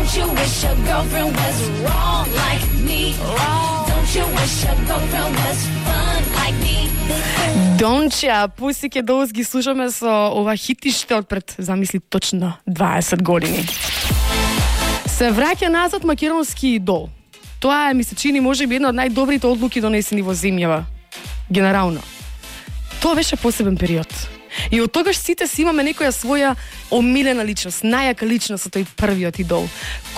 Don't you wish your girlfriend was wrong like me? Don't you wish your girlfriend was fun like me? Донча, Pussycat Dolls ги слушаме со ова хитиште од пред, замисли, точно 20 години. Се враќа назад македонски идол. Тоа ми се чини можеби една од најдобрите одлуки донесени во земјава. Генерално. Тоа беше посебен период. И од тогаш сите си имаме некоја своја омилена личност, најака личност од тој првиот идол.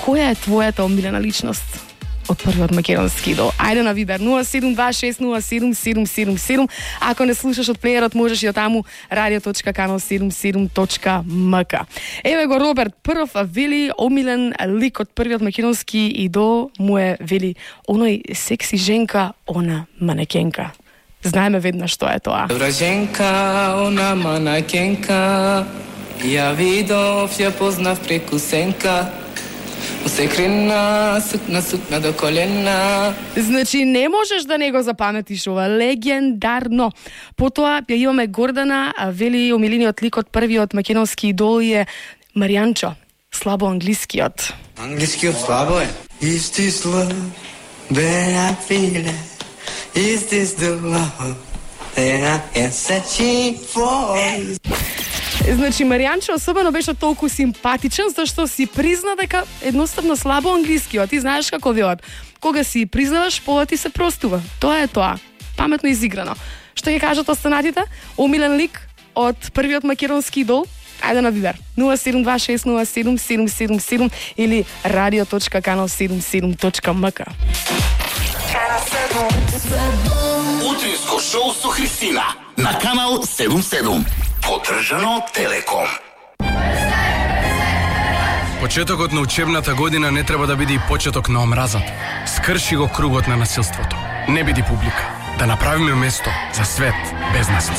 Која е твојата омилена личност од првиот македонски идол? Ајде на Вибер 0726077777. Ако не слушаш од плеерот, можеш и од таму radio.kanal77.mk. Еве го Роберт, прв вели омилен лик од првиот македонски идол му е вели оној секси женка, она манекенка. Знаеме веднаш што е тоа. Добра женка, она манекенка, ја видов, ја познав преку сенка. Усекрена, сукна до колена. Значи не можеш да не го запаметиш ова, легендарно. Потоа ја имаме Гордана, вели омилениот лик од првиот македонски идол е Маријанчо, слабо англискиот. Англискиот слабо е. Is this love that I feel it? Is this the love that I am searching for? Значи Маријанчо особено беше толку симпатичен зашто си призна дека едноставно слабо англиски, ти знаеш како велат. Кога си признаваш, пола ти се простува. Тоа е тоа. Паметно изиграно. Што ќе кажат останатите? Омилен лик од првиот македонски идол? Ајде на Вибер 0726077777 или radio.kanal77.mk. Утринско шоу со Христина на Канал 77. Поддржано од Телеком. Почетокот на учебната година не треба да биде и почеток на омразата. Скрши го кругот на насилството. Не биди публика. Да направиме место за свет без насилство.